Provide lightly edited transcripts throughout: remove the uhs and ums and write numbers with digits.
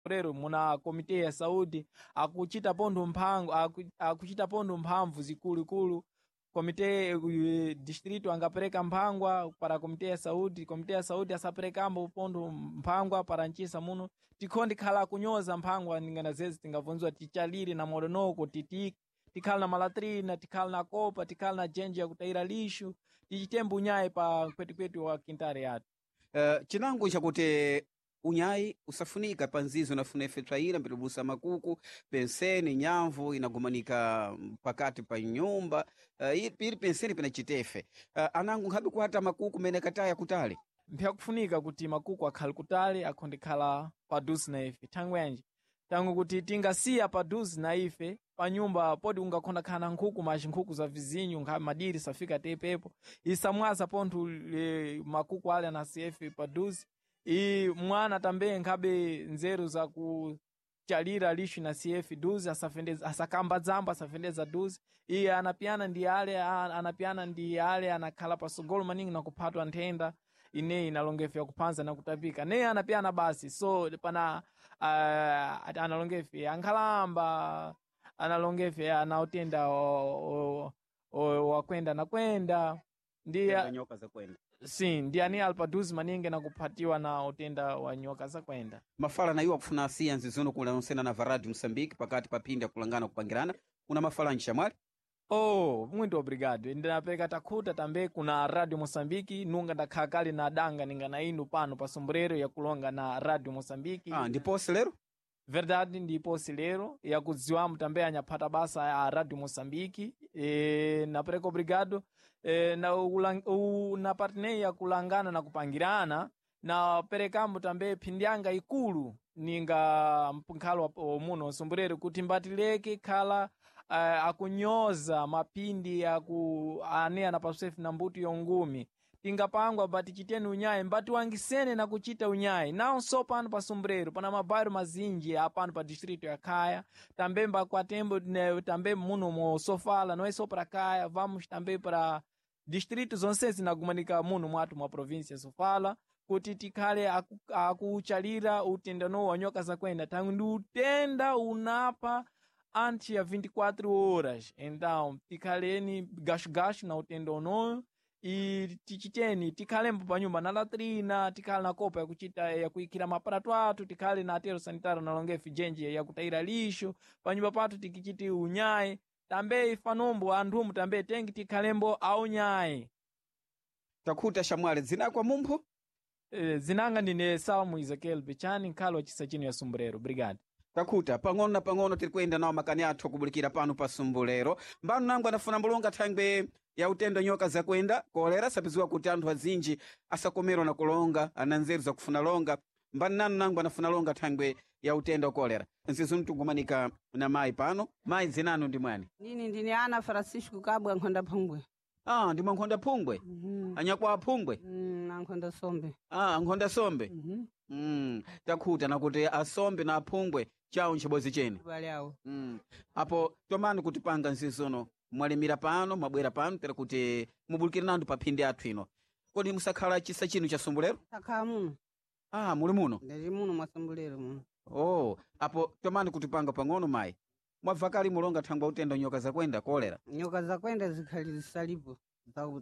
Lero muna komite ya saúde akuchita pontho mphango akuchita pontho mphamvu zikulukulu komite distrito angapereka mphangwa para komite ya saúde, komite ya saúde asaperekambo pontho mphangwa para ncisa muno tikhondi khala kunyoza mphangwa ningana zezi tingabvunziwa tichalire na moronoko titi tikhala na malatrina, tikhala na kopa, tikhala na jenje yakutayira lixo, tichitembo unyayi pa kwetikweni wa quintare yathu. Chinango nchakuti unyayi usafunika pa nzizo inafuna ife tswayira mbitibusa makuku penseni nyamvu inagumanika pakati pa nyumba, pili penseni pina chitefe, anango nkhabe kuhata makuku mene kataya kutali. Mpyakufunika kuti makuku akhale kutali akhondekhala paduze na ife thangwi yanji tangu kuti tingasiya paduze na ife panyumba podi ungakhonda khala na nkhuku maci nkhuku za vizinyo nkhabe madiri safika tepepo isamwaza pontho makuku ale anasiya ife paduze i mwana tambe nkhabe nzeru za kuchalira lixo na cf duze asafendeza asakamba dzamba asafendeza duze iye anapiyana ndi ale anapiyana ndi ale anakhala pasogolo maningi na kuphatwa nthenda ineyi inalongefe yakuphanza na kutapika neye anapiyana basi so pana analongefe ankhalamba analongefe anautenda wakwenda na kwenda ndi nyoka zakwenda sim ndi ani ali paduze maningi nakuphatiwa na utenda wa nyoka zakwenda. Mafala na iwo akufuna asiya nzizono kulanonsena na varadi Moçambique pakati pa phindi akulangana kupangirana una mafala nchamwali. Oh, muito obrigado. Ndinapereka takhuta tambe kuna Radio Moçambique nunga ndakhala kale na danga ninga na inu pano pa sombrero yakulonga na Radio Moçambique. Ah, ndiponse lero. Verdade ndiponse lero yakudziwamo tambe anyaphata basa ya Radio Moçambique. E, napereka obrigado e, na, na parteneia yakulangana na kupangirana na perekambo tambe phindyanga ikulu ninga mphalo muno sombrero kuti mbatileke khala akunyoza mapindi aku ane anapasefu na mbuto yongumi tingapangwa bati chiteni unyayi mbatiwangisene na kuchita unyayi nawo pano pa sombrero pana mabairo mazinji apano pa distrito ya Khaya tambe mbakwatembo tambe muno mo Sofala não é só para Khaya, vamos também para distrito zonse zinagumanika muno mwathu mwa província Sofala kuti tikhale akuchalira utendano wa nyoka zakwenda tangu ndi utenda unapha antes ya 24 horas. Então tikhaleni gashugashu na utenda unoyo e tichiteni tikhalembo panyumba na latrina, tikhale na kopa yakuchita yakuyikira maparato athu, tikhale na atero sanitário na longefe jenje yakutayira lixo panyumba pathu tikichiti unyayi tambe ifanombo anthumu tambe tengi tikhalembo aunyayi. Takhuta shamwali dzinakwa mumpho. Zinanga ndine Salmo Ezequiel Bichani nkhalo wa chisa chino ya Sombrero. Obrigado. Takhuta pang'ono na pang'ono tiri kuyenda nawo makani athu akubulikira pano pa Sumbulero mbano nangu anafuna mbulonga thangwe ya utendo nyoka zakwenda kolera sapiziwa kuti anthu azinji asakomerwa na kulonga ana nzeru zakufuna longa mbani nanu nangu anafuna longa thangwe ya utendo wa kolera nzizo mtungumanika na mayi pano mayi dzinanu ndi mwani. Nini ndine Ana Francisco Kabwa Nkhonda Phungwe. Ah, ndi mwankhonda Phungwe. Anyakwa Phungwe. Ankhonda Sombe. Ah, ankhonda Sombe. Takhuta nakuti asombe na aphungwe chawo nchibozi chene. Bale awo. Apo tomani kutipanga nzizono mwalimira pano mwabwera pano tera kuti mubulikire nandu pa phindi athu ino kodi musakhala chisa chinu cha Sumbulero? Takhala muno. Ah, muli muno. Ndili muno mwa Sumbulero muno. Oh, apo tomani kutipanga pang'ono mayi mwabva kali mulonga thangwa utenda nyoka zakwenda kolera. Nyoka zakwenda zikhali zisalipo.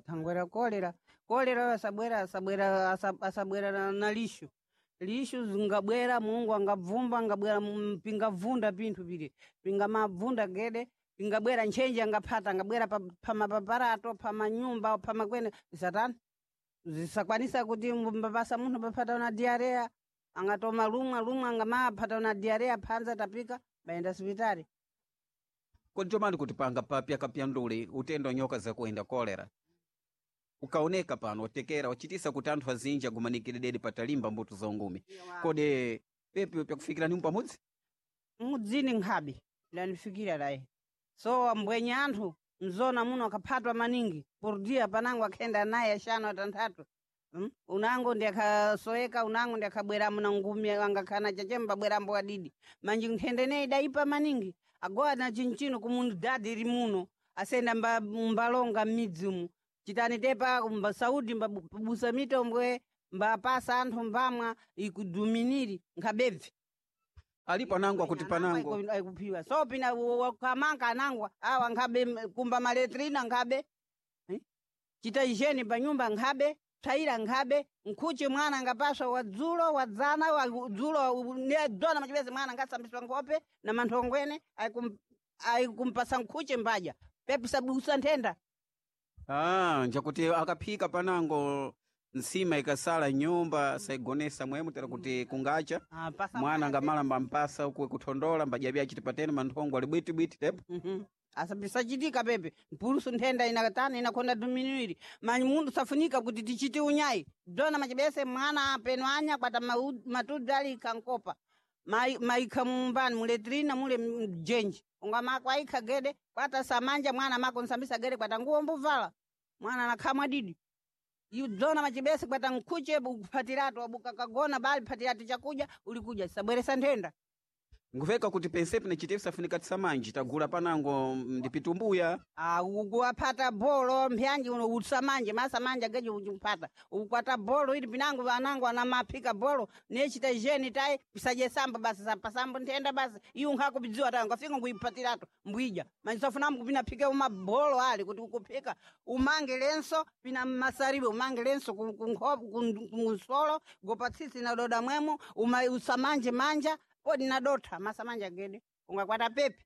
Thangwera kolera. Kolera asabwera asabwera asabwera na lixo. Lixo zingabwera Mungu angabvumba angabwera pingavunda pinthu pile. Pingamabvunda gede pingabwera ntchenje angaphata angabwera pamapaparato pamanyumba pamakwene zisatani zisakwanisa kuti mbapasa munthu paphata na diarrea angatoma lumwa lumwa angamaphata na diarrea phanza tapika bayenda sipitali. Kodi tomani kutipanga papya kapyanduli utendo nyoka zakwenda kolera ukaoneka pano watekera wachitisa kuti anthu azinji agumanikire dedi patalimba mbuto za ungumi kodi pepi pyakufikira nimu pamudzi. Mudzini nkhabe lanifikira layi so ambwenye anthu mzona muno akaphatwa maningi por dia panango akhenda naye axanu atanthatu. Unango ndi akhasoeka unango ndi akhabweramo na ngumi angakhana chachemba bwerambo adidi manji nkhende neyi idaipa maningi agowa na chinchino kumundu dadi iri muno asenda mbalonga m'midzi umu chitani tepa mba saudi mbabusa mitombwe mbapasa anthu mbamwa ikuduminiri nkhabebve. Alipo anango akuti panango Aikuphiwa so pina wakamanga anangwa awa nkhabe kumba maletrina nkhabe. Eh? Chita ijeni panyumba nkhabe tsaira nkhabe nkhuchi mwana ngapaswa wadzulo wadzana wadzulo ne dona machipezi mwana ngasambiswa nkhope na manthongwene aikumpasa nkhuchi mbadya pepisa busa nthenda. Ah, njakuti akaphika panango nsima ikasala nyumba saigonesa mwemu tera kuti kungacha. Ah, pasa mwana ngamala mbampasa uku kuthondola mbadya chiti patene manthongo ali bwitibwiti tepo. Mhm. Asapisachitika pepe mpulusu nthenda inakatana inakonda diminuiri manyi mundu safunika kuti tichite unyayi dona machibese mwana peno anya kwata matudzi ali kankopa maikha mumbani muletrina mule mjenji unga mako aikha gede kwata samanja mwana mako nsambisa gede kwata nguwo mbuvala mwana anakhamwa didi idzona machibese kwata nkhuche ukuphatiratu wabuka kagona bali phatiratu chakudya ulikuja sabweresa nthenda. Nkuveka kuti pensepe nachitepo safunika tisamanji tagula panango ndipitumbuya. Ah, ukuwaphata bolo mpyanji uno utsamanje masamanja geje uchiphata ukwata bolo ili pinango vanango anamaphika bolo nechita jeni tai pisaje samba basi sapasambo nthenda basi iyo nkhako bidziwa tayo ngafika nguiphatiratu mbwija manjisafunamu kupina phike uma bolo ali kuti ukuphika umange lenso pina masaribe umange lenso kunsolo gopatsitsi na doda mwemo uma usamanje manja podi nadotha masamanja gede ungakwata pepe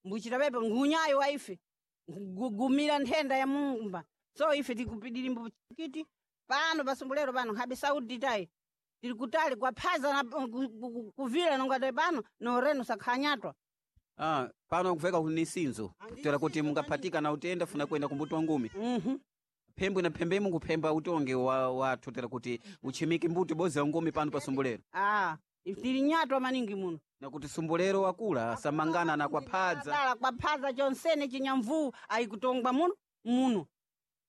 mbuchita pepe ngunyayo waife gugumira nthenda ya mumba so ife tikupidirimbo kiti pano pasumbulero pano nkhabe saudi tayi tili kutali kwaphaza na kuvila nongati pano noreno sakhanyatwa. Ah, pano nkuveka kuti ni sinzo tera kuti mungaphatika na utenda funa kwenda kumbuti wa ngumi. Phembwe na phembemu nkuphemba utonge wa wathu tera kuti uchimike mbuti bozi wa ngumi pano pa sumbulero. Ah, ife tili nyatwa maningi muno. Na kuti sumbulero wakula asamangana na kwaphadza. Dala kwaphaza chonsene chinyamvuu ayikutongwa muno muno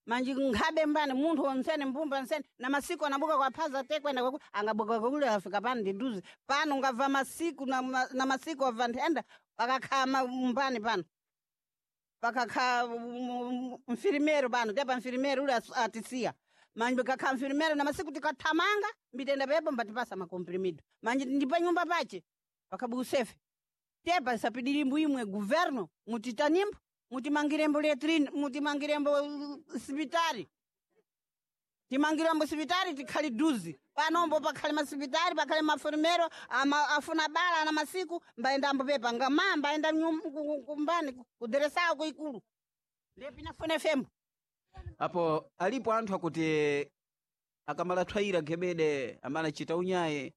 manji nkhabe mbani munthu wonsene mbumba nsene na masiku anabuka kwaphaza tekwenda kwaku angabuka kwakule afika pano ndiduze pano ungabva masiku na, na masiku wabva nthenda pakakhala mbani pano pakakhala mfirimero pano tepa mfirimero ule atisiya manje kakhala mfirimero na masiku tikathamanga mbitenda pepo mbatipasa makomprimido manje ndi pa nyumba pache pakabusefe tepa sapidirimbo imwe guverno mutitanimbo mutimangirembo letrine mutimangirembo sipitari timangirembo sipitari tikhali duzi panombo pakhali masipitari pakhali mafurimero ama, afuna bala ana masiku mbaendambo pepa ngama mbaenda kumbani kuderesawo kuikulu ndepinafune fembo. Apo alipo anthu akuti akamala thwayira gebede amalachita unyaye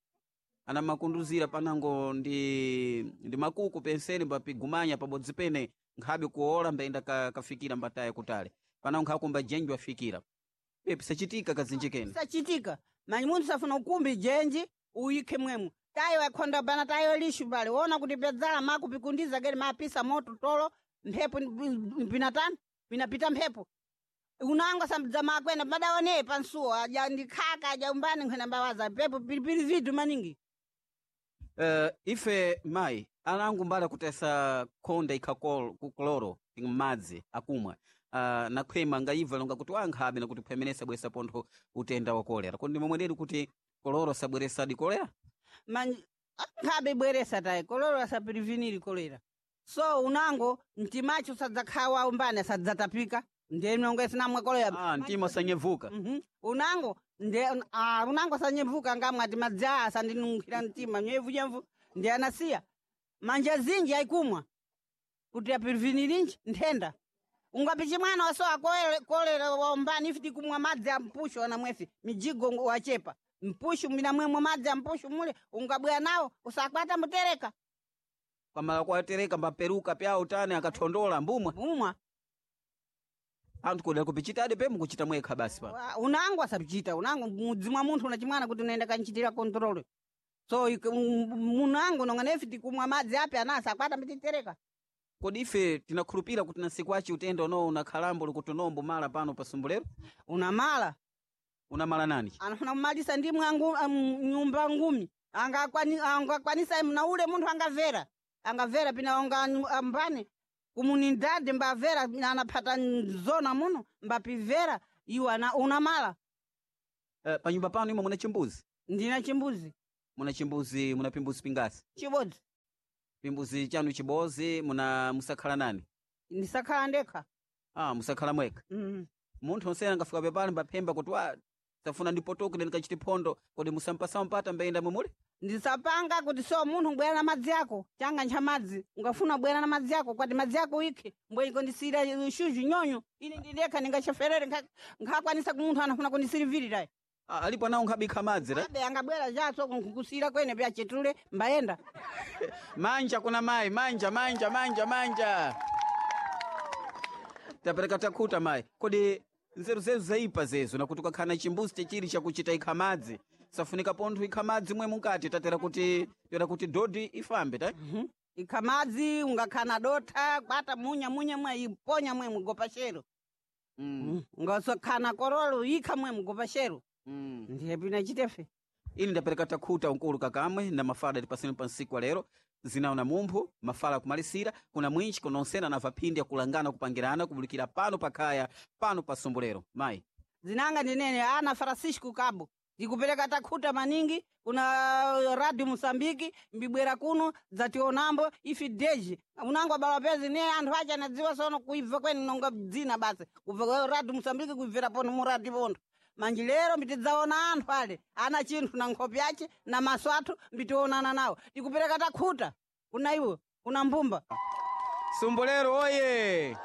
anamakunduzira panango ndi makuku penseni mbapigumanya pabodzi pene nkhabe kuola mbaenda kafikira mbataya kutale panango nkhakumba jenji wafikira pepe sachitika kazinji kene. Sachitika manyi munthu safuna ukumbi jenji uyikhe mwemwe tayo akhonda bana tayo lishu pale wona kuti pedzala makupikundiza kene mapisa moto tolo mphepo pinatani pinapita mphepo unangwa sambidza makwena madaone pansuwo aja ndikhaka aja umbani nkhwena mbawaza pepo pilipili vidu maningi. Ife mayi anangu mbala kutesa khonda ikha kukloro m'madzi akumwa nakhwema ngayibva longa kuti wankhabe nakuti phwemenesa bwesa pontho utenda wa kolera kodi momweneri kuti koloro sabweresadi kolera? Manji nkhabe bweresa tayi koloro asapiriviniri kolera so unango mtimacho sadzakhawa umbani asadzatapika ndiye nongo sinamwe kolera. Ah, mtima usanyevuka. Unango nde unango sanyemvuka ngamwe ati madzi sandinunkhira mtima nyevunyemvu ndi anasiya manja zinji ayikumwa kuti apirivinirinji nthenda ungapichi mwana wasowa kolera waumbani ife tikumwa madzi a mpushu anamwefi mijigo wachepa mpushu minamwemwe madzi a mpushu mule ungabwera nawo usakwata mutereka. Kwamala kwatereka mbaperuka pyawo tani akathondola mbumwa. Mbumwa. Anthu kodera kupichitadi pemu kuchita mwekha basi pa Unango asapichita unango mudzi mwa munthu una chimwana kuti unaenda kanchitira kontrole so munango nonga nefi tikumwa madzi api ana asakwata mbititereka. Kodi ife tinakhulupira kuti na siku achi utenda unowo unakhalambo likuti unombo mala pano pa sumbulero? Unamala. Unamala nani? Anafuna kumalisa ndi mwangu nyumba ngumi angakwanisa mna ule munthu angavera angavera pina onga ambani kumunindade mbavera anaphata zona muno mbapivera iwo unamala. Panyumba pano imwe muna chimbuzi? Ndina chimbuzi. Muna chimbuzi, muna pimbuzi pingasi? Chibodzi. Pimbuzi chanu chibozi muna musakhala nani? Ndisakhala ndekha. Ah, musakhala mwekha. Munthu onsene angafika pepale mbaphemba kuti wa safuna ndipotoke ndikachite phondo, kodi musampasa mpata mbayenda mwemuli? Ndisapanga kuti so munthu ubwera na madzi ako, changa ncha madzi, ungafuna ubwera na madzi ako, kwati madzi ako ikhe, mbweniko ndisira shuju nyonyo, ine ndilekha ndingacheferere nkhakwanisa ku munthu anafuna kundisirivirira. Ah, alipo anawo nkhabikha madzi ra? Abe angabwera jaso nkusira kwene pya chetule mbayenda. Manja kuna mayi, manja manja manja manja. Tapereka takhuta mayi. Kodi nzeru zezu zaipa zezo nakuti ukakhana chimbuzi chechiri chakuchita ikha madzi safunika pontho ikha madzi mwe mukati tatera kuti tera kuti dodi ifambe ta. Ikha madzi ungakhana dotha kwata munya munya mwe iponya mwe mugopa shero. Ungasokhana korolo ikha mwe mugopa shero. Ndiye pina chitefe. Ini ndapereka takhuta unkulu kakamwe na mafala tipaseni pa nsiku wa lero zinawo na mumphu mafala akumalisira kuna mwinchi kuna onsena na vaphindi akulangana kupangirana kubulikira pano pakhaya pano pa sumbulero mayi. Zinanga ndinene ana Francisco Cabo ndikupereka takhuta maningi kuna Radio Mosambiki mbibwera kuno dzationambo ifi deji unango abala pezi ne anthu acha anadziwa sono kuibva kwene nonga dzina basi kubva kwa Radio Mosambiki kuibvera pono mu radio pontho manji lero mbitidzaona anthu ale ana chinthu na nkhope yace na maso athu mbtionana nawo ndikupereka takhuta kuna iwo kuna mbumba. Sumbulero oye!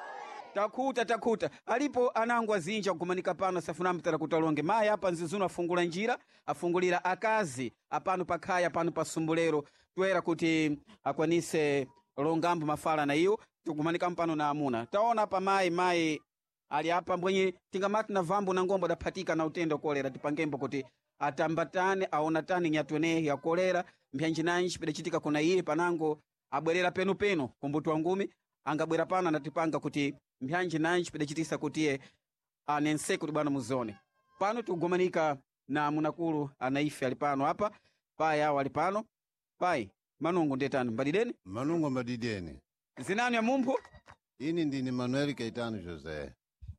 Takhuta takhuta alipo anango azinji akumanika pano asafuna mtara kuti alonge mayi apa nzizuno afungula njira afungulira akazi apano pakhaya pano pa sumbulero toera kuti akwanise longambo mafala na iwo tikumanika mpano na amuna taona apa mayi mayi ali apa mbwenye tingamati na vambo na ngombo adaphatika na utenda kolera tipangembo kuti atambatane aonatane nyatwene ya kolera mbyanjinanji pidachitika kuna iye panango abwerera penupenu kumbuti wa ngumi angabwera pano anatipanga kuti mbyanjinanji pidachitisa kuti iye anense kuti bwana muzone pano tikugomanika na munakulu anaife ali pano apa payi awo ali pano payi manungu ndetani mbadideni. Manungo mbadideni. Zinanu ya mumphu. Ini ndini Manuel Caetano José.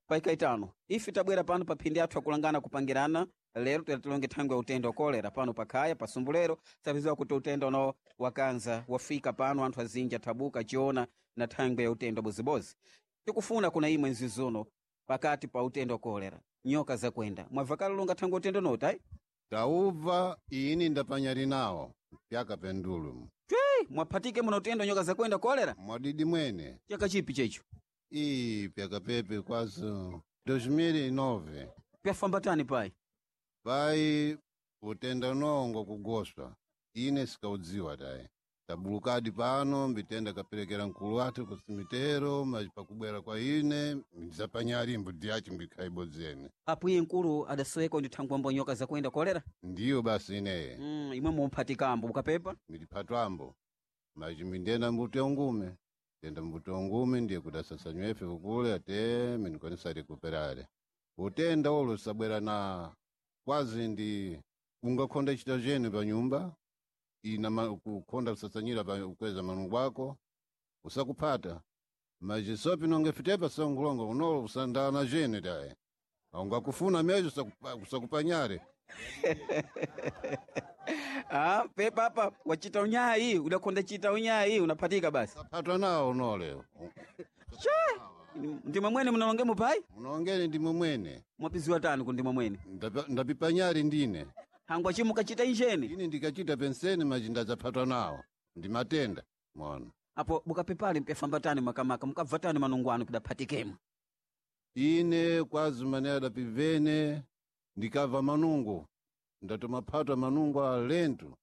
Pai Caetano, ife tabwera pano pa phindi athu akulangana kupangirana lero tera tilonge thangwi ya utenda wa kolera pano pakhaya pa sumbulero sapiziwa kuti utenda uno wakanza wafika pano anthu azinji athabuka chiona na thangwi ya utenda bozibozi tikufuna kuna imwe nzizuno pakati pa utenda wa kolera nyoka zakwenda mwavakala longa thangwi ya utenda unoti ayi. Taubva ini ndapanyali nawo pyaka pendulu. Mwaphatike muna utenda nyoka zakwenda kolera? Mwadidi mwene. Chaka chipi checho? Ii pyaka pepe kwazo 2009. Pyafambatani pai? Pai utenda nongo kugoswa ine sikaudziwa tayi tabulukadi pano mbitenda kaperekera mkulu wathu kusimitero maji pakubwera kwa ine ndizapanyali mbudzi yacho mbikhaibodzene. Apo iye mkulu adasoweka ndi thangwi ambo nyoka zakwenda kolera? Ndiyo basi ineye. Imwe mumphatikambo mukapepa? Ndiliphatwambo maji mindenda mbuti ongume tenda mbuti ongume ndiye kudasasanywefe kukule ate minikwanisa rikuperare utenda ulo sabwera na kwazi ndi ungakhonda chita chene pa nyumba ina kukhonda kusasanyira pa kukweza manungu ako usakuphata maji sopi nonge fitepa songulonga unolo usandana chene taye ungakufuna mejo usakupanyare. Ah, pepa apa wachita unyayi udakhonda chita unyayi unaphatika basi. Saphatwa nawo unole. Ndimwe mwene munalonge mupayi? Munongene ndimwe mwene. Mwapiziwa tani ku ndimwe mwene? Ndapipanyari ndine. Hangwa chimukachita injeni? Ine ndikachita penseni maji ndadzaphatwa nawo ndimatenda mona. Apo mukapepale mpyafambatani makamaka mukabva tani manungu anu kudaphatikemo? Ine kwazi mane adapivene ndikabva manungu ndatomaphatwa manungu a lentu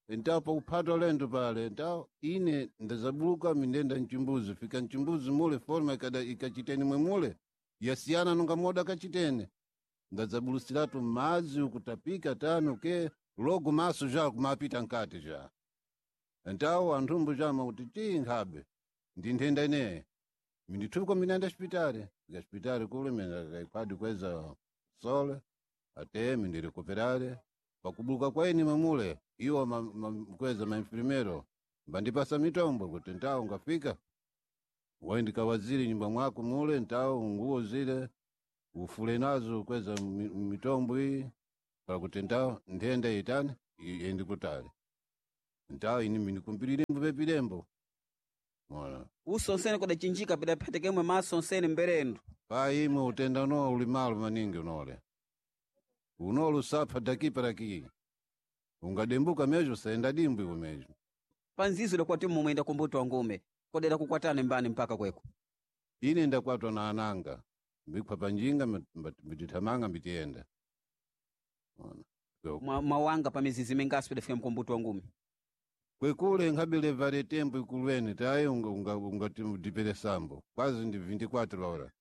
entawo pakuphatwa lentu pale entawo ine ndazabuluka mindenda mchimbuzi fika mchimbuzi mule forma ikachiteni mwe mule yasiyana nonga moda kachitene ndadzabulusiratu madzi ukutapika tano ke logo maso ja kumapita nkati ja entawo anthumbu jama kuti tii nkhabe ndi nthenda ineyi mindithuko minaenda xipitali fika xipitali kule minakaikhwadi kweza sole ate mindirikuperale pakubuluka kwaini mamule iwo kweza mainfirmero mbandipasa mitombo kuti ntawo ngafika waindikawazire nyumba mwako mule ntawo nguo zile ufule nazo kweza mitombo iyi pakuti ntawo nthenda itani iyendikutali. Ntawo ini minikumpirilembo pepilembo mona. Uso onsene kudachinjika pidaphatekemwe maso onsene mberendo. Pa imwe utenda no uli malo maningi unole unole usapha dakipa laki ungadembuka mejo saenda dimbwi iwe mejo. Panzizo dakwati mumwenda kumbuto wa ngume kodera kukwatane mbani mpaka kweko. Ine ndakwatwa na ananga mbikhwa panjinga mbitithamanga mbitiyenda. Ona. Mwawanga pa mizizi mingaso pidafika mkumbuto wa ngume. Kwekule nkhabile vale tembo ikulweni tayi ungatipele sambo kwazi ndi 24 hora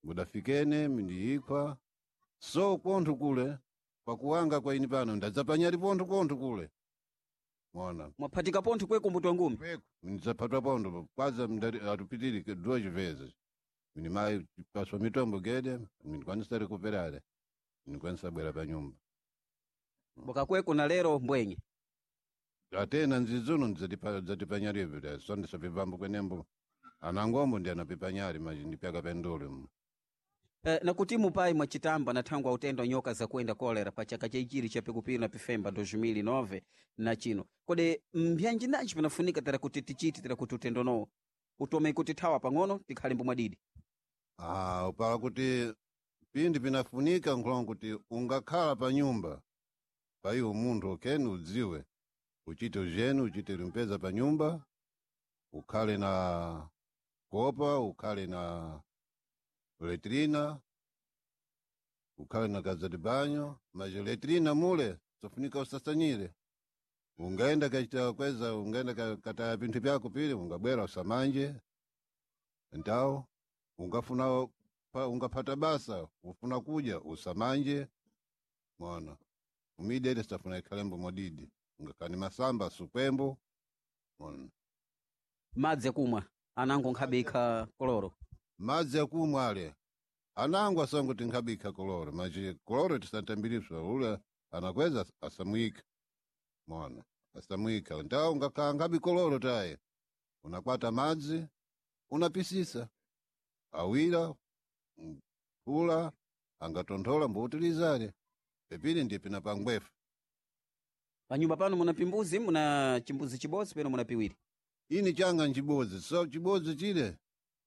mudafikene mindiyikhwa so konthu kule pakuwanga kwa ini pano ndadzapanyali pontho konthu kule mona. Mwaphatika pontho kwe kumbuto wa ngume. Ndidzaphatwa pontho kwaza atupitiri duas vezes mini mayi paswa mitombo gede minikwanisa rekuperare minikwanisa bwera pa nyumba. Bwakakweko na lero mbwenye. Atena nzizuno ndzatipanyalipo so ndisapipambo kwenembo anangombo ndi anapipanyali maji ndipyaka pendule mu. Nakuti mupai mwachitamba na thangwi utenda nyoka zakuenda kolera pa chaka chaichiri cha pikupiri na pifemba 2009 na chino kodi mbyanji nanji pinafunika tera kuti tichiti tera kuti utendo nowo utome kuti thawa pang'ono tikhale mbomwadidi. Ah, upala kuti pindi pinafunika nkhulongo kuti ungakhala pa nyumba pa iwo munthu okeni udziwe uchite ujeni uchite limpeza pa nyumba ukhale na kopa ukhale na letrina ukhale na kaza de banho mas letrina mule sofunika usasanyire ungaenda kachita kweza ungaenda kataya pinthu pyako pili ungabwera usamanje ntawo ungafuna ungaphata basa ufuna kudya usamanje mona umidere safuna ikhalembo modidi ungakani masamba sukwembo mona. Madzi akumwa anango nkhabikha koloro. Madzi akumwa ale anango asango tinkhabikha koloro maji koloro tisantambiriswa ule anakweza asamwika mona asamwika ntawo ungakhala nkhabi koloro taye unakwata madzi unapisisa awira phula angatonthola mbuutilizale pepili ndi pina pangwefu. Panyumba pano muna pimbuzi muna chimbuzi chibodzi peno muna piwiri. Ini changa nchibodzi so chibodzi chile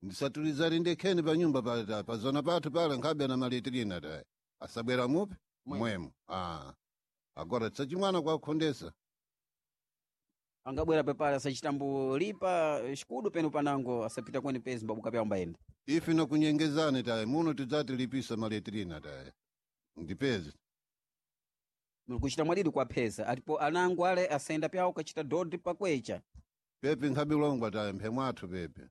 ndisatulizale ndekheni pa nyumba pale ta pazona pathu pale nkhabe ana maletrina taye asabwera mupi mwemo ah agora tsachimwana kwakhondesa. Angabwera pepale asachitambulipa xikudu peno panango asapita kweni pezi mbabuka pyawo mbayenda. Ife nakunyengezane taye muno tidzatilipisa maletrina taye ndipezi. Muli kuchita mwadidi kwapheza alipo anango ale asenda pyawo kachita dodi pakwecha. Pepe nkhabilongwa taye mphemwathu pepe.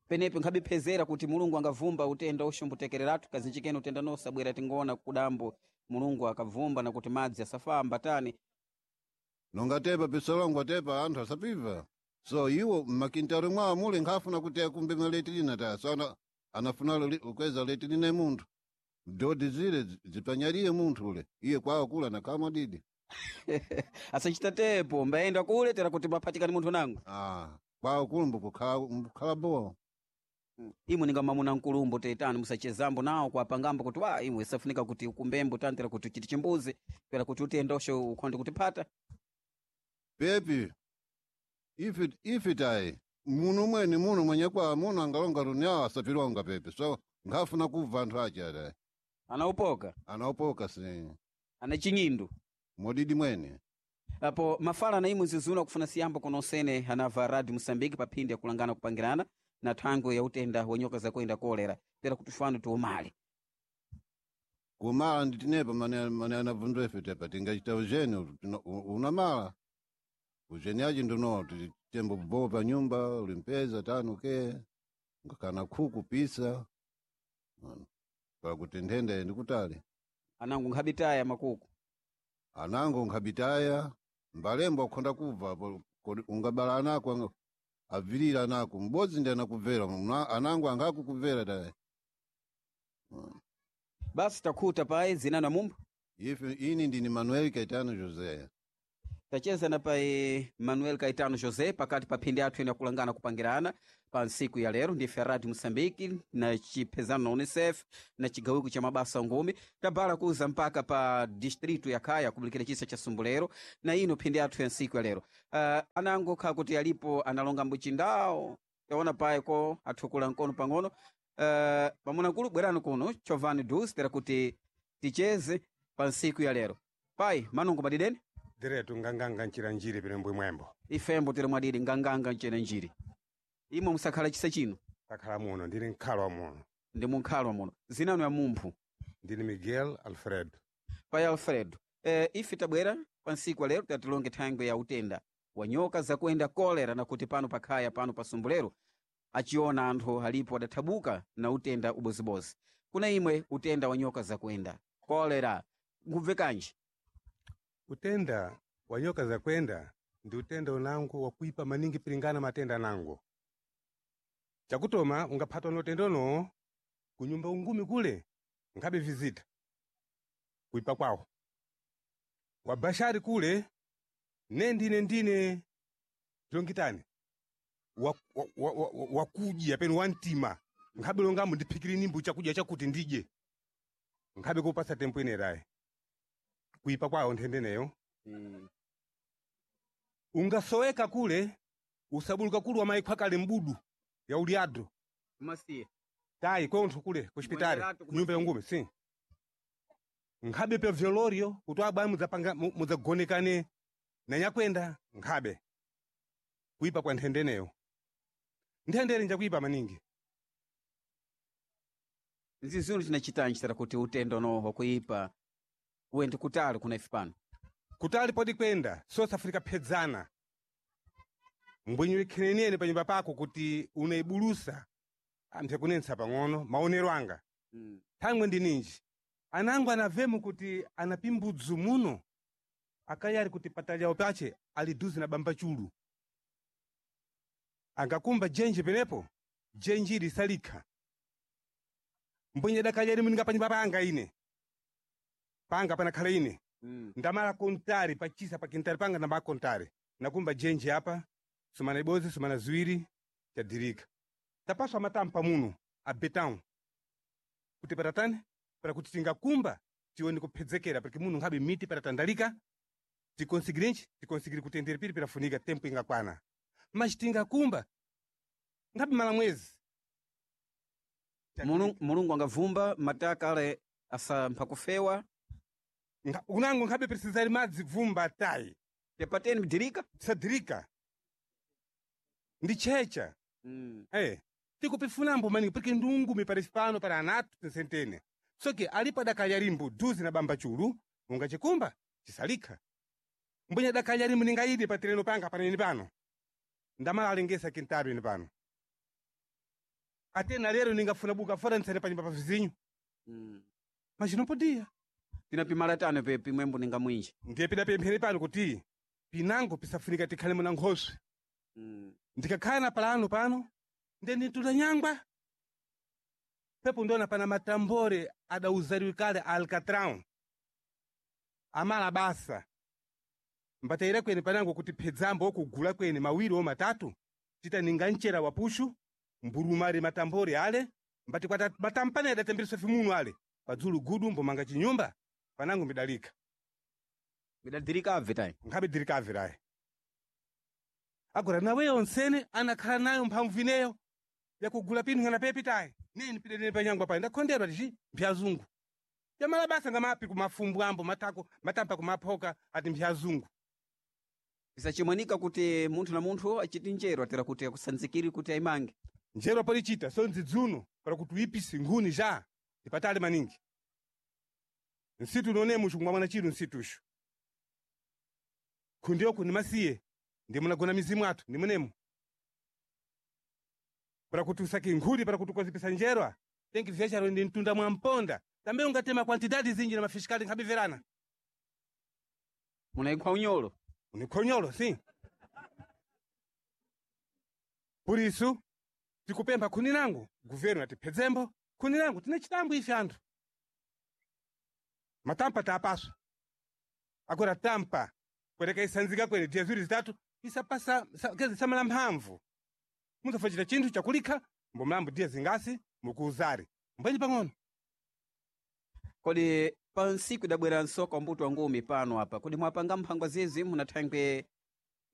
Penepo nkhabiphezera kuti mulungu angavumba utenda uxombotekereratu kazinjikeni utenda nosabwera tingoona kudambo mulungu akavumba nakuti madzi asafamba tani. Nonga tepa pisolongwa tepa anthu asapiva so iwo mmakintalo mwawo muli nkhafuna kuti akumbe maletrina taye so anafuna ukweza letrina munthu dodi zile zipanyaliye munthu ule iye kwawo kula nakhamwa didi. Asachita tepo mbayenda kule tera kuti maphatikani munthu nango. Ah, kwawo kula mbukhala bowa. Imwe ninga mamuna nkulumbo tetani musachezambo nawo kwapangambo kuti wa imwe isafunika kuti ukumbembo tani tera kuti uchiti chimbuzi tera kuti utendosho ukhonde kutipata. Pepi ife tayi muno mwene muno mwenye kwa muno angalonga runyawo asapilonga pepi so nkhafuna kubva anthu ache atayi. Anaupoka. Anaupoka si. Ana chinyindu. Modidi mwene. Apo mafala na imwe zizuna kufuna siyambo kunosene anava Radio Mosambiki pa phindi yakulangana kupangirana na thangwe ya utenda wa nyoka zakuenda kolera tera kuti fano tiumale. Kumala nditinepa mane anabvunzwa ife tepa tingachita ujeni unamala ujeni achi nduno tembo bowa pa nyumba ulimpeza tano ke ngakana khuku pisa pakuti nthenda ndikutali. Anango nkhabitaya makuku. Anango nkhabitaya mbalembo akhonda kubva apo ungabala anako avilira anako m'bodzi ndi anakubvera anango angakukubvera taye. Basi takhuta paye zina na mumba. Ife ini ndini Manuel Caetano José. Tacheza na pai Manuel Caetano José pakati pa phindi athu ene akulangana kupangirana pa ntsiku ya lero ndife Radio Moçambique na chiphezano na UNICEF na chigawiko cha mabasa ngumi tabala kuza mpaka pa distrito ya Kaya kubulikira chisa cha Sumbulero na ino phindi athu ya ntsiku ya lero. Anango kha kuti alipo analonga mbuchindawo taona paeko athukula mkono pang'ono. Pamunakulu bwerani kuno Chovani Dus tera kuti ticheze pa ntsiku ya lero. Pai manungo madideni Diretu nganganga nchira njiri pino mbwe mwembo. Ifembo tiri mwadidi nganganga ncene njiri imwe musakhala chisa chino. Takhala muno ndili nkhalwa muno. Ndi munkhalwa muno zinanu ya mumphu. Ndili Miguel Alfredo. Pai Alfredo, ife tabwera pa ntsiku lero tatilonge thangwe ya utenda wa nyoka zakuenda kolera na kuti pano pakhaya pano pa Sumbulero achiona anthu alipo adathabuka na utenda ubozibozi. Kuna imwe utenda wa nyoka zakuenda kolera ngubve kanji? Utenda wa nyoka zakwenda ndi utenda unango wakuipa maningi pilingana matenda nango. Chakutoma ungaphatwa na utenda uno kunyumba ungumi kule nkhabe vizita kuipa kwawo. Wabashari kule nendine zilongitani wakudya penu wantima nkhabe longamu ndiphikire nimbu chakudya chakuti ndidye nkhabe kupasa tempo inerayi kuipa kwawo nthendeneyo. Ungasoweka kule usabuluka kule wamayikhwa kale mbudu ya uliadro Masiye tayi kweonthu kule kuchipitali Mwenderatu kunyumba yangume si nkhabe pya vyolorio kuti abwayi mudzapanga mudzagonekane na nyakwenda nkhabe kuipa kwa nthendeneyo. Nthendere njakuipa maningi. Nzizunu tinachitanji tera kuti utenda uno wakuipa uende kutali kuna ife pano? Kutali poti kwenda South Africa phedzana mbwenye ikhenenene panyumba pako kuti unaibulusa amphe kunensa pang'ono maonero anga. Thangwe ndi ninji anango anavemu kuti anapimbudzu muno akayari kuti patalyawo pache ali duzi na bamba chulu angakumba jenji penepo jenji ili salikha mbwenye dakayari muninga panyumba panga ine panga panakhala ine. Ndamala kontari pachisa pakintari panga ndamala kontari nakumba jenji apa sumana ibozi sumana ziwiri chadirika tapaswa matampa muno abetão kuti patatani para kuti tingakumba tione kuphedzekera porque muno nkhabe miti patatandalika tikonsigirenji tikonsigire kutendere piri pirafunika tempo ingakwana mas tingakumba nkhabe mala mwezi. Mulungu angavumba mataka ale asampha kufewa. Unango nkhabe precisari madzi vumba tayi tepateni mdirika sadirika ndi checha. Tikupifunambo maningi porque ndungumi pali pano para anatu tinsentene soke alipo adakayalimbo duzi na bamba chulu ungachikumba chisalikha mbwenye adakayalimbo ningayide pa tereno panga panene pano ndamala alengesa kintaru ine pano atena lero ningafuna buka fora ntsene panyumba pa vizinyo. Machinopodia tinapimala tano pe pimwembo ninga mwinji ndiye pidapemphera pano kuti pinango pisafunika tikhale muna nkhoswe. Ndikakhala na palano pano ndiye nditula nyangwa pepo ndona pana matambore adauzariwe kale a alcatrão amala basa mbatayira kwene panango kuti phedzambo okugula kwene mawiri o matatu tita ninga mcera wa pushu mbulumali matambore ale mbati kwata matampane adatembereswa fimuno ale padzulu gudu mbomanga chinyumba panango mbidalika midadirika abve tayi nkhabe dirikavirayi agora nawe onsene anakhala nayo mphamvu ineyo yakugula pinthu ngana pepi tayi nini pidedene panyangwa payi ndakhonderwa tici mphyazungu yamala basa ngamapi kumafumbu ambo matako matampa kumaphoka ati mphyazungu. Pisachimwanika kuti munthu na munthu achiti njero atera kuti akusanzikiri kuti ayimange njero polichita so nzidzuno para kuti uyipise nkhuni ja ndipatale maningi nsitu unonemo chikumwa mwana chiru nsitushu khundiyoko ndimasiye ndimunagona mizimu athu ndimunemo para kuti usake nkhuni para kuti ukozipisa njerwa tenki vyacharo ndi mtunda mwa mponda tambe ungatema kwantidadi zinji na mafisikali nkhabiverana munaikhwa unyolo unikhonyolo si purisu tikupempha khuni langu guvernu atiphedzembo khuni langu tine chitambo ife anthu matampa taapaswa agora tampa Kwereka isanzika kwene dia ziwiri zitatu isapasa kezi samala mphamvu. Muzafachita chinthu chakulikha mbo mlambo dia zingasi mukuuzari. Mbwenyi pang'ono. Kodi pa nsiku idabwera nsoka mbuto wa ngumi pano apa kodi mwapanga mphangwa zizi muna thangwe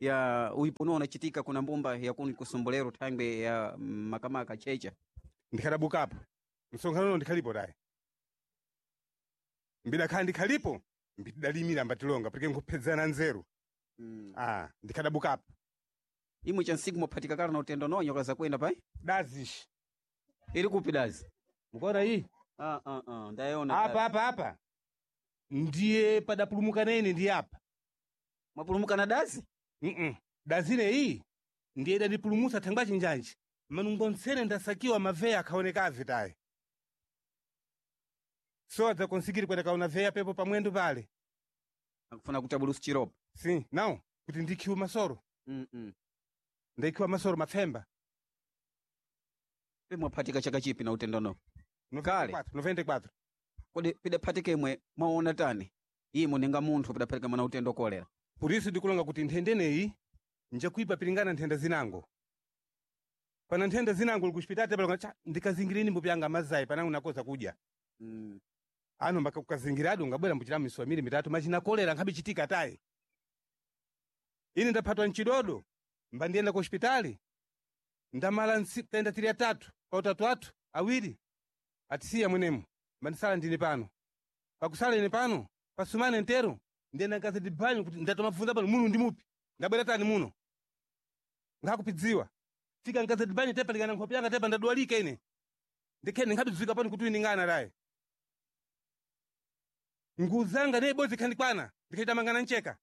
ya uipuno unachitika kuna mbumba ya kuni kusumbulero thangwe ya makamaka checha Ndikhadabukapo. Msonkhano uno ndikhalipo tayi. Mbidakhala ndikhalipo mbitidalimira mbatilonga porque nkuphedzana nzeru. Ah, ndikhadabukapo. Imwe cha nsiku mwaphatika kala na utendo no nyoka zakwenda pai Dazishi. Iri kupi dazi? Mukuona iyi? Ndayiona Apa apa apa. Ndiye padapulumuka nene ndiye apa. Mwapulumuka na dazi? Dazine iyi ndiye idandipulumutsa thangwa chinjanji. Manungo ntsene ndasakiwa maveya akhaoneka avitayi. So adzakonsikiri kwenda kaona veya pepo pamwendo pale. Akufuna kutabulusa chiropo. Si, não, kuti ndikhiwe masoro. Ndikhiwa masoro mapfemba. Pe mwaphatika chaka chipi na utendo no? Kale. 94. Kodi pidaphatika imwe mwaona tani? Imwe ninga munthu pidaphatika mwana utendo kolera. Por isso ndikulonga kuti nthendeneyi njakuipa pilingana nthenda zinango. Pana nthenda zinango likuchipitati palonga cha ndikazingirini mbupi yanga mazayi panango nakoza kudya. Ano mbaka kukazingiradi ungabwera mbuchira miso miri mitatu machina kolera nkhabe chitika tayi. Ine ndaphatwa mchidodo mbandiyenda ku hospitali. Ndamala tenda tiri atatu pa utatu athu awiri atisiya mwenemo mbandisala ndine pano. Pakusala ine pano pasumane ntero ndiyenda nkazi ndibhanyu kuti ndatomabvunza pano muno ndi mupi ndabwera tani muno nkhakupidziwa fika nkazi ndibhanyu tepa likana nkhope yanga tepa ndadwalika ine ndikhene nkhabidzwika pano kuti uyiningana tayi nguzanga ne ibodzi ikhandikwana ndikhaita mangana ncheka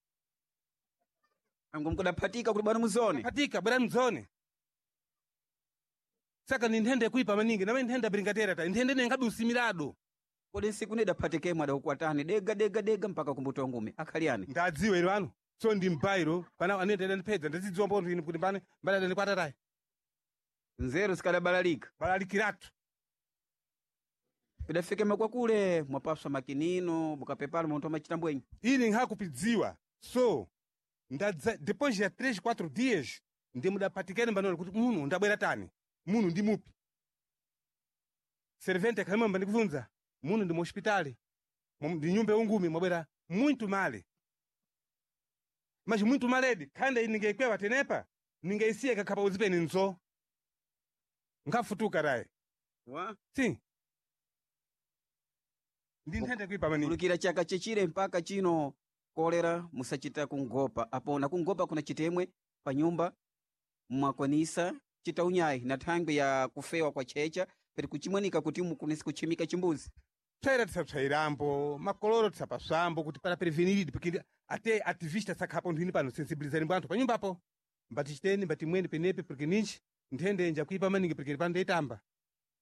Angu mkudaphatika kuti bwana muzone. Phatika bwana mzone. Saka ni nthenda kuipa maningi namene nthenda piringatera ta nthenda ine nkhabi usimirado. Kodi nsiku nidaphatika imwe adakukwatani dega dega dega mpaka kumbuto wa ngumi akhali ani? Ndadziwa ilo ano so ndi mbairo pana anene ndandipedza ndazidziwa mbonthu ine kuti mbane mbale adandikwata tayi. Nzeru zikadabalalika. Balalikiratu. Pidafika makwakule mwapaswa makinino mukapepala munthu amachita mbwenyi. Ine nkhakupidziwa so ndadza depois ya 3 4 dias ndi mudapatikene mbanolo kuti muno ndabwera tani muno ndi mupi. Servente akhalima mbandikubvunza muno ndi mu hospitali ndi nyumba yaungumi mwabwera muito male. Mas muito maledi khanda ine ningaikwewa tenepa ningaisiya kakhapa uzipeni nzo. Nkhafutuka tayi. Wa? Si. Ndi nthenda kuipa maningi. Kulukira chaka chechire mpaka chino kolera musachita kungopa apo na kungopa kuna chitemwe pa nyumba mwakwanisa chita unyayi na thangwi ya kufewa kwa checha peri kuchimwanika kuti mukunisi kuchimika chimbuzi. Psaira tisapsairambo makoloro tisapaswambo kuti para preveniridi porque até ativista sakhapo nthwini pano sensibilizani bwanthu pa nyumbapo mbatichiteni mbatimweni penepe porque ninji nthende njakuipa maningi porque pano ndeyitamba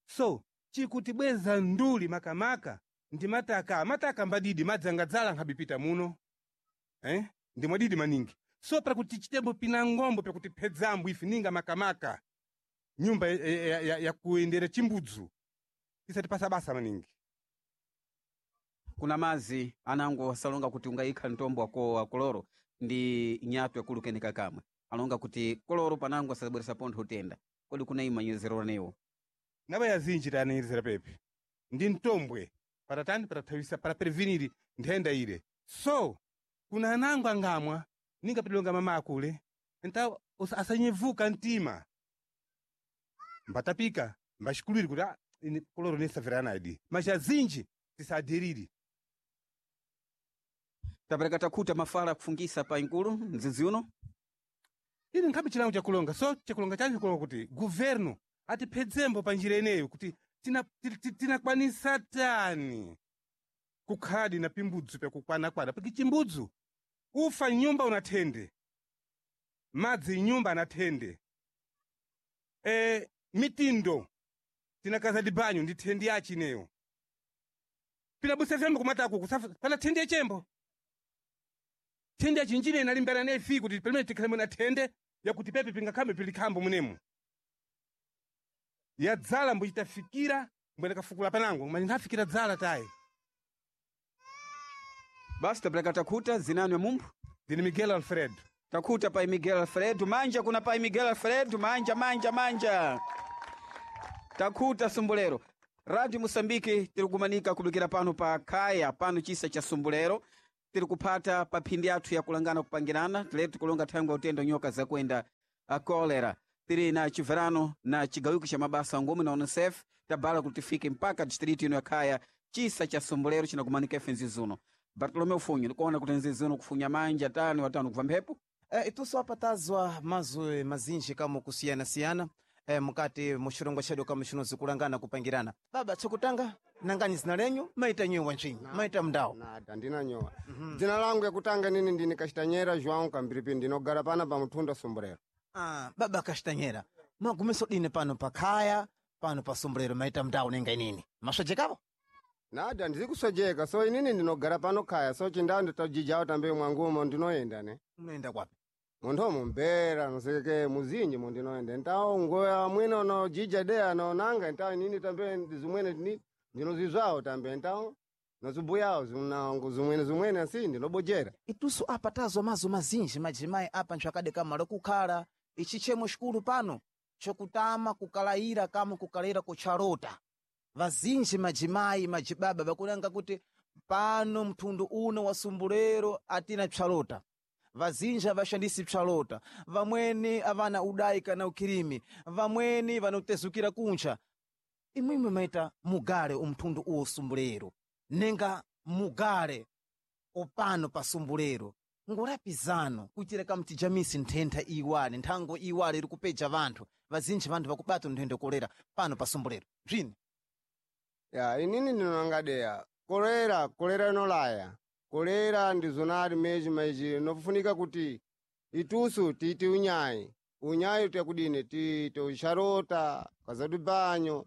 so chikutibweza nduli makamaka ndi mataka mataka mbadidi madzi angadzala nkhabipita muno eh? ndi mwadidi maningi so para kuti tichitembo pina ngombo pakuti phedzambo ife ninga makamaka nyumba ya kuyendera chimbudzu isatipasa basa maningi. Kuna mazi anango asalonga kuti ungayikha mtombo wako wa koloro ndi nyatwa yakulukenika kamwe alonga kuti koloro panango asabweresa pontho utenda kodi kuna imanyezero newo Naba yazinji taniyezera pepe ndi mtombwe patatani patathawisa para prevenir nthenda ile so kuna anango angamwa ninga pedilonga mama akule nta asanyevuka mtima mbatapika mbaxikulwiri kuti ah, ine koloro nesavera idi mas azinji tisadiriri. Tapereka takhuta mafala kufungisa pa inkulu mdzidzi uno. Ine nkhabe chilango chakulonga so chakulonga chanji kulonga kuti governo atiphedzembo pa njira ineyo kuti tinakwanisa tani kukhadi na pimbudzu pyakukwanakwana porque chimbudzu ufa nyumba unathende madzi nyumba anathende mitindo tinakaza dibanyo ndi thendi yachi ineyo pinabusa vyambo kumataku kusafa pana thendi yachembo thende yachinjine inalimbana naye fi kuti pamene tikhale na thende yakuti pepe pingakhambe pilikhambo munemu yadzala mbuchitafikira mbwene kafukula panango mani nkhafikira dzala tayi Basi tapereka takhuta zinani ya mumphu. Ndini Miguel Alfredo. Takuta pai Miguel Alfredo manja kuna pai Miguel Alfredo manja manja manja. Takuta Sumbulero. Radio Mosambiki tiri kumanika kubikira pano pa kaya pano chisa cha Sumbulero tiri kuphata pa phindi yathu yakulangana kupangirana tileti tikulonga thangwi utendo nyoka zakuenda a kolera tiri na chiverano na chigawiko cha mabasa ngomwe na UNICEF tabala kuti tifike mpaka distritu ino ya khaya chisa cha Sumbulero chinakumanika ife nzizuno. Bartolomeu Funyo ndikuona kuti nzizuno kufunya manja tani watano kubva mphepo. Itusu apatazwa mazwi mazinji kamo kusiyana-siyana mukati muxirongwa xedu kamo xinozi kulangana kupangirana. Baba chokutanga nangani zina lenyu maita nyowa ncinyi maita mndawo. Nada ndinanyowa. Dzina langu yakutanga nini ndini Kashitanyera João Kambiripi ndinogara pana pa Mutunda Sumbulero. Baba Kashitanyera magumiso dini pano pakhaya pano pa Sumbulero maita mndawo nenga inini maswejekavo? Nada ndizikuswejeka so inini ndinogara pano khaya so chindawo nditojijawo tambe mwangumo ndinoenda ne. Munoenda kwapi? Munthu mumbera nosekeke muzinji mundinoenda ntawo ngoya mwene unojija deya nonanga ntawo inini tambe zimwene ndinozizwawo tambe ntawo nozibuyawo zimnango zimwene zimwene asi ndinobojera. Itusu apa tazwa mazo mazinji majimai apa ntsvakade kamalo kukhala ichi chemo xikulu pano chokutama kukalayira kama kukalayira kuchalota. Vazinji majimai majibaba vakunanga kuti pano mtundu uno wa Sumbulero atina psalota. Vazinji avashandisi psalota, vamweni avana udai kana ukirimi, vamweni vanotezukira kuncha. Imwimwe maita mugale umtundu uwo Sumbulero nenga mugale upano pa Sumbulero ngurapizano kuitira kamutijamisi nthentha iwale nthango iwale iri kupeja vanthu vazinji vanthu vakubata nthenda kolera pano pa Sumbulero bzini. Ya inini ndinonanga deya kolera kolera inolaya kolera ndizonali meji meji nofunika kuti itusu tiite unyayi unyayi tuyakudini tiite usharota kazadu banyo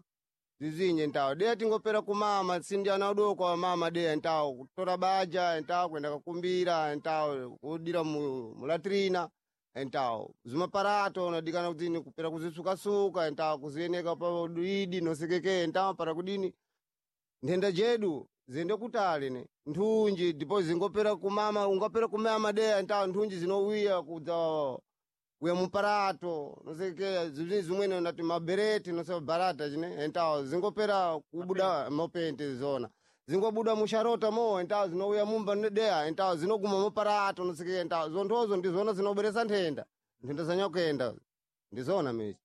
zizinye ntawo deya tingopera kumama sindi ana udoko wa mama deya ntawo kutora baja ntawo kwenda kakumbira ntawo kudira mulatrina ntawo zimaparato unadikana kudini kupera kuzisukasuka ntawo kuzieneka pa idi nosekeke ntawo para kudini nthenda jedu ziyende kutali ne nthunji ndipo zingopera kumama ungapera kumama deya ntawo nthunji zinowiya kudza uya muparato nosekeya zimwe zimwene nati mabereti nosewa barata chine entawo zingopera kubuda mopente zona zingobuda musharota mo entawo zinouya mumba nedeya entawo zinoguma muparato nosekeya entawo zonthozo ndizona zinoberesa nthenda nthenda zanyakuyenda ndizona mechi.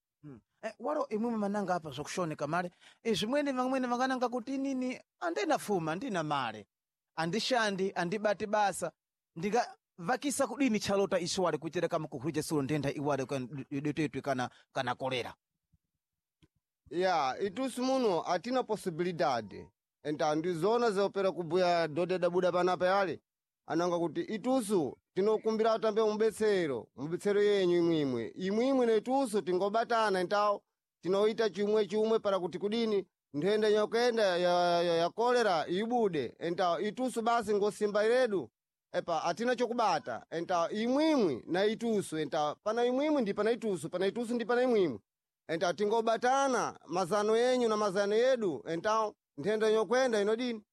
Walo imwimwe mananga apa zvakushoneka male zvimweni vamweni vangananga kuti inini andina fuma ndina male andishandi andibati basa ndingavakisa kudini chalota ichiwale kuitira kama kuhwija sulo nthenda iwale detetwe kana kolera. Ya itusu muno atina possibilidade enta ndizona zopera kubuya dode dabuda panapa yale ananga kuti itusu tinokumbira tambe mubetsero mubetsero yenyu imwimwe imwimwe neitusu tingobatana entawo tinoita chimwe chimwe para kuti kudini nthenda nyokenda ya kolera ibude entawo itusu basi ngosimba ledu epa atina chokubata entawo imwimwi na itusu entawo pana imwimwi ndi pana itusu pana itusu ndi pana imwimwi entawo tingobatana mazano yenyu na mazano yedu entawo nthenda nyokwenda inodini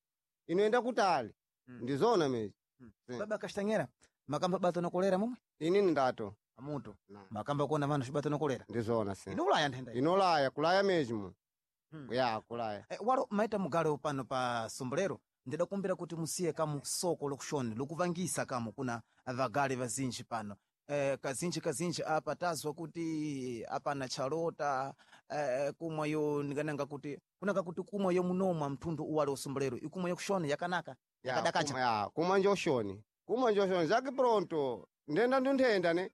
inoenda kutali. Ndizona meji. Baba Kashitanyera makamba bato na kolera momwe? Inini ndato amutu makamba kuona vanhu xibato na kolera ndizona se inolaya nthenda iyi. Inolaya kulaya meji mu ya kulaya. Walo maita mugale pano pa Sumbulero ndidakumbira kuti musiye kamu soko lokushoni lokuvangisa kamu kuna vagale vazinji pano. Kazinji kazinji apa tazwa kuti apana chalota kumwa yo ndingananga kuti kunanga kuti kumwa yo munomwa mtundu uwale usumbulero ikumwa yokushoni yakanaka yakadakacha. Ya kumwa njoshoni kumwa njoshoni zake pronto ndenda ndunthenda ne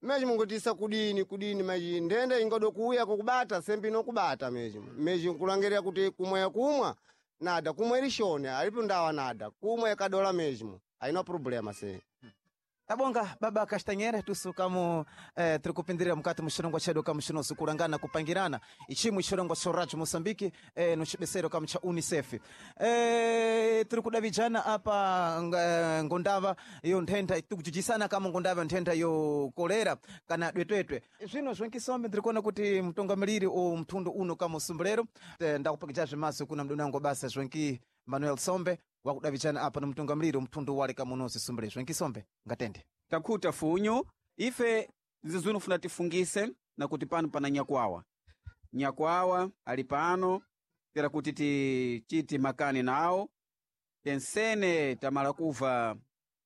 meji mungotisa kudini kudini meji ndenda ingodo kuuya kukubata sembi inokubata meji meji nkulangerera kuti kumwa yakumwa nada kumwa irishoni alipo ndawa nada kumwa yakadola meji aina problema se. Tabonga baba Kashitanyera tusu kamo tiri kupindirira mukati muxirongwa chedu kamo xinozi kulangana kupangirana ichimwe xirongwa xa Radio Moçambique no xibesero kamo cha UNICEF tiri kudavijana apa ngondava yo nthenda tikujijisana kamo ngondava yo nthenda yo kolera kana dwetwetwe zvino zvenkisombe ndiri kuona kuti mutungamiriri o mtundu uno kamo Sumbulero ndakupakija zvimaso kuna mdoni wangu basa zvenki Manuel Sombe wakudavijana apa no mutungamiriri mtundu wale kamunozi Sumbulero zvenkisombe ngatende. Takhuta funyu ife zizunu funa tifungise na kuti pano pana nyakwawa. Nyakwawa ali pano tera kuti tichiti makani nawo tensene tamala kuva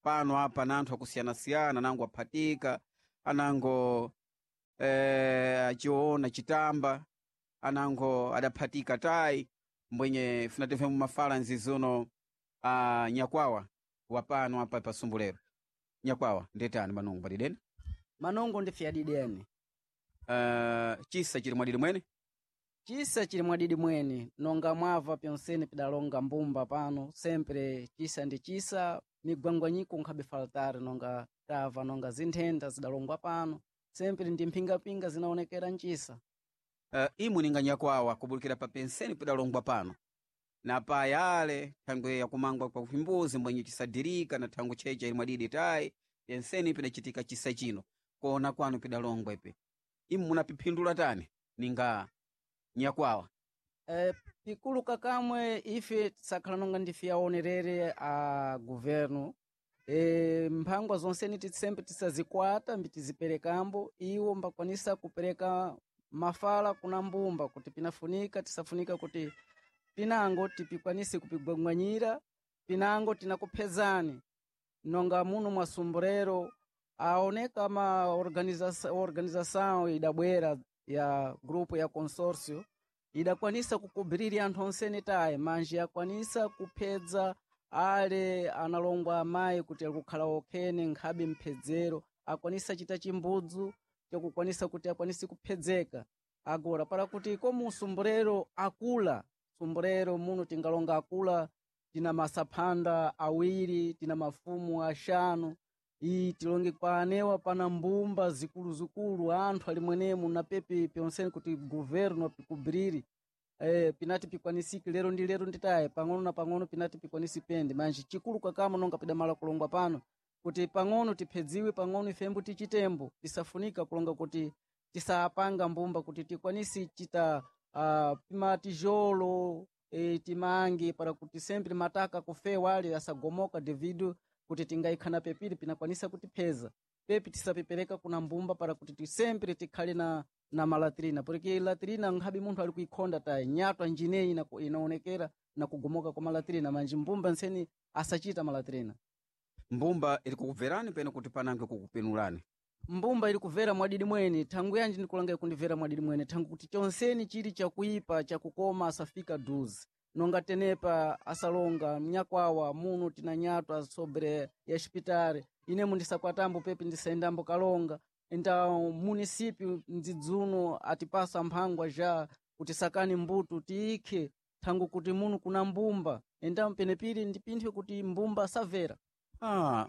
pano apa na anthu akusiyana-siyana anango aphatika anango achiona chitamba anango adaphatika tayi mbwenye funa timve mumafala nzizuno a nyakwawa wapano apa pasumbulero. Nyakwawa ndetani manungu padideni? Manongo ndi fyadideni. Chisa chili mwadidi mwene? Chisa chili mwadidi mwene, nonga mwava pyonsene pidalonga mbumba pano, sempre chisa ndi chisa, migwangwanyiko nkhabe faltare nonga tava nonga zinthenda zidalongwa pano, sempre ndi mphingapinga zinaonekera mchisa. Imwe ninga nyakwawa kubulikira pa penseni pidalongwa pano na payale thangwe yakumangwa kwa vimbuzi mbwenye chisadirika na thangwe checha ili mwadidi tayi penseni pidachitika chisa chino kuona kwanu pidalongwa ipe imwe munapiphindula tani ninga nyakwawa? Pikulu kakamwe ife tisakhala nonga ndife aonerere a governo. Mphangwa zonseni tisembe tisazikwata mbitiziperekambo iwo mbakwanisa kupereka mafala kuna mbumba kuti pinafunika tisafunika kuti pinango tipikwanise kupigwangwanyira pinango tinakuphezani nonga muno mwa Sumburero aoneka ma organização idabwera ya grupo ya consórcio idakwanisa kukubirira anthu onsene tayi manje yakwanisa kuphedza ale analongwa amayi kuti alikukhala okhene nkhabe mphedzero akwanisa chita chimbudzu chakukwanisa kuti akwanise kuphedzeka agora para kuti komu Sumburero akula Sumburero muno tingalonga akula tina masaphanda awiri tina mafumu axanu iyi tilonge kwa anewa pana mbumba zikuluzikulu anthu ali mwenemu na pepe pyonsene kuti governo apikubiriri pinati pikwanisike lero ndi lero nditaye pang'ono na pang'ono pinati pikwanisi pende manje chikulu kakamo nonga pidamala kulongwa pano kuti pang'ono tiphedziwe pang'ono ifembo tichitembo tisafunika kulonga kuti tisapanga mbumba kuti tikwanisi chita pimatijolo timange para kuti sempre mataka kufewa ale asagomoka devido kuti tingaikhana pepiri pinakwanisa kutipheza pepi tisapepereka kuna mbumba para kuti tisempre tikhale na malatrina porque latrina nkhabe munthu ali kuikhonda tayi nyatwa njineyi inaonekera na kugomoka kwa malatrina manje mbumba ntseni asachita malatrina. Mbumba ili kukubverani pene kuti panange kukupinulani? Mbumba ili kubvera mwadidi mwene thangu yanji ndikulanga ikundibvera mwadidi mwene thangu kuti chonseni chili chakuipa chakukoma asafika duzi nonga tenepa asalonga mnyakwawa muno tina nyatwa sobre ya xipitari inemo ndisakwatambo pepi ndisayendambo kalonga enta munisipyu mdzidzuno atipasa mphangwa ja kuti sakani mbuto tiikhe thangu kuti muno kuna mbumba enta penepiri ndipinthwe kuti mbumba asavera.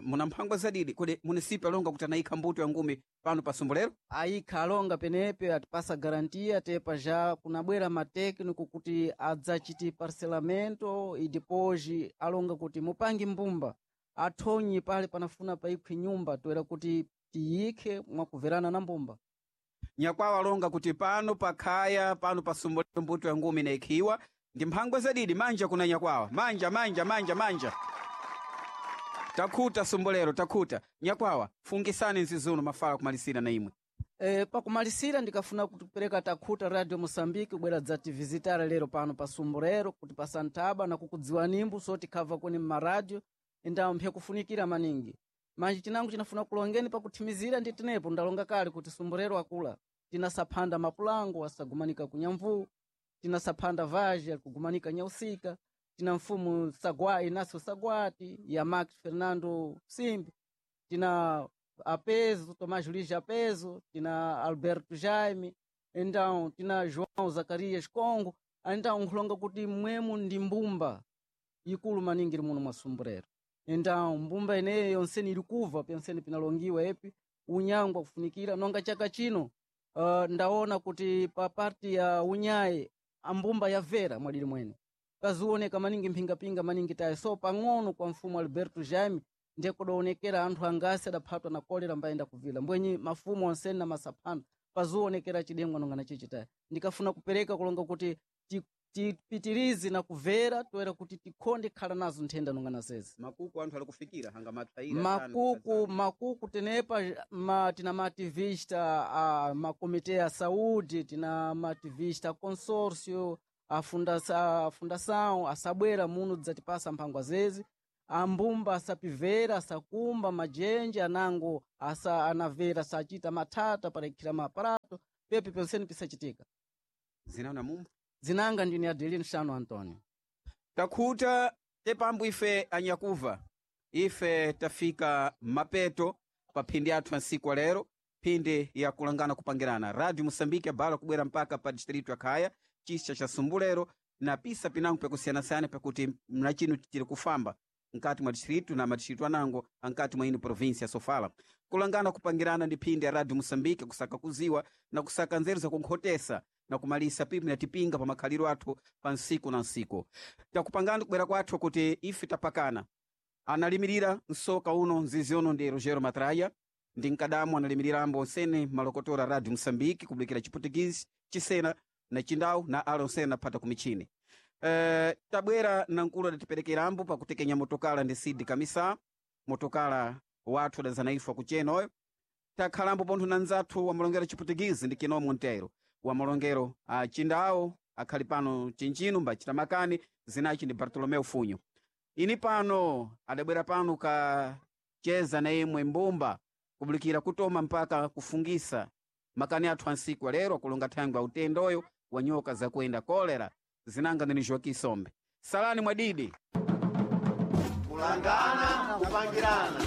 Muna mphangwa zadidi kodi munisipi alonga kuti anayikha mbuto ya ngumi pano pa Sumbulero? Ayikha alonga penepe atipasa garantia tepa já kunabwera matécnico kuti adzachiti parcelamento e depois alonga kuti mupange mbumba athonyi pale panafuna paikhwe nyumba toera kuti tiyikhe mwakuverana na mbumba. Nyakwawa alonga kuti pano pakhaya pano pa Sumbulero mbuto ya ngumi inaikhiwa ndi mphangwa zadidi. Manja kuna nyakwawa manja manja manja manja. Takhuta Sumbulero takhuta. Nyakwawa fungisani nzizuno mafala kumalisira na imwe. Pakumalisira ndikafuna kupereka takhuta Radio Moçambique kubwera dzativisitara lero pano pa Sumburero kuti pa Santaba na kukudziwa nimbu so tikhava kuni mmaradio indawo mphe kufunikira maningi manje chinango chinafuna kulongeni pakuthimizira ndi tenepo ndalonga kale kuti Sumburero akula tinasaphanda mapulango asagumanika kunyamvu tinasaphanda vaje alikugumanika nyausika tina mfumu Sagwa Inácio Sagwati ya Max Fernando Simbi tina Apeso Tomás Luís Apeso tina Alberto Jaime então tina João Zacarias Congo então nkhulonga kuti mwemu ndi mbumba ikulu maningi iri muno mwa Sumburero então mbumba ineyo yonseni iri kuva pyonseni pinalongiwa epi unyangwa kufunikira nonga chaka chino ndaona kuti pa parti ya unyayi ambumba yavera mwadili mwene pazioneka maningi mphingapinga maningi tayi so pang'ono kwa mfumu Alberto Jaime ndiye kudaonekera anthu angasi adaphatwa na kolera mbayenda kuvila mbwenyi mafumu onseni na masaphano pazionekera chidengwa nonga na chichi tayi ndikafuna kupereka kulonga kuti Tipitirize na kumvera toera kuti tikhonde khala nazo nthenda nonga nazezi. Makuku anthu ali kufikira hanga matsaira. Makuku tenepa tina maativista a makomite ya saúde, tina maativista a consórcio, a fundação asabwera muno dzatipasa mphangwa zezi. Ambumba asapivera, asakumba majenje anango asa anavera sachita mathata paraikhira maaparato pepe penseni pisachitika. Zinaona mumba. Zinanga ndine Adelino Shano Antonio. Takhuta tepambo ife anyakuva, ife tafika mapeto pa phindi athu ansiku alero, phindi ya kulangana kupangirana. Radio Moçambique abala kubwera mpaka pa distrito ya Khaya, chisa cha Sumbulero na pisa pinango pakusiyanasiyana, pakuti mnachino tiri kufamba nkati mwa distrito na madistrito anango ankati mwa ino província ya Sofala. Kulangana kupangirana ndi phindi ya Radio Moçambique, kusaka kuziwa na kusaka nzeru zakunkhotesa na kumalisa pipi na tipinga pa makhaliro athu pa nsiku na nsiku. Takupangani kubwera kwathu kuti ife tapakana. Analimirira msoka uno mzizi uno ndi Rogero Matraia, ndi mkadamu analimirira ambo onsene malokotora Radio Moçambique kubulikira Chiputukisi, Chisena na Chindau na ala onsene naphata kumichini. Tabwera na nkulu adatiperekera ambo pakutekenya motokala ndi Sidi Kamisa, motokala wathu adazana ife akuchena oyo. Takhalambo pontho na nzathu wa malongero Chiputukisi ndi Kino Monteiro, wa malongero a Chindau akhali pano chinchino mbachita makani, zinachi ndi Bartolomeu Funyo. Ini pano adabwera pano kacheza na imwe mbumba kubulikira kutoma mpaka kufungisa makani athu ansiku alero akulonga thangwi autendoyo wa nyoka zakuenda kolera. Zinanga ndini Joaquim Sombe. Salani mwadidi. Kulangana kupangirana.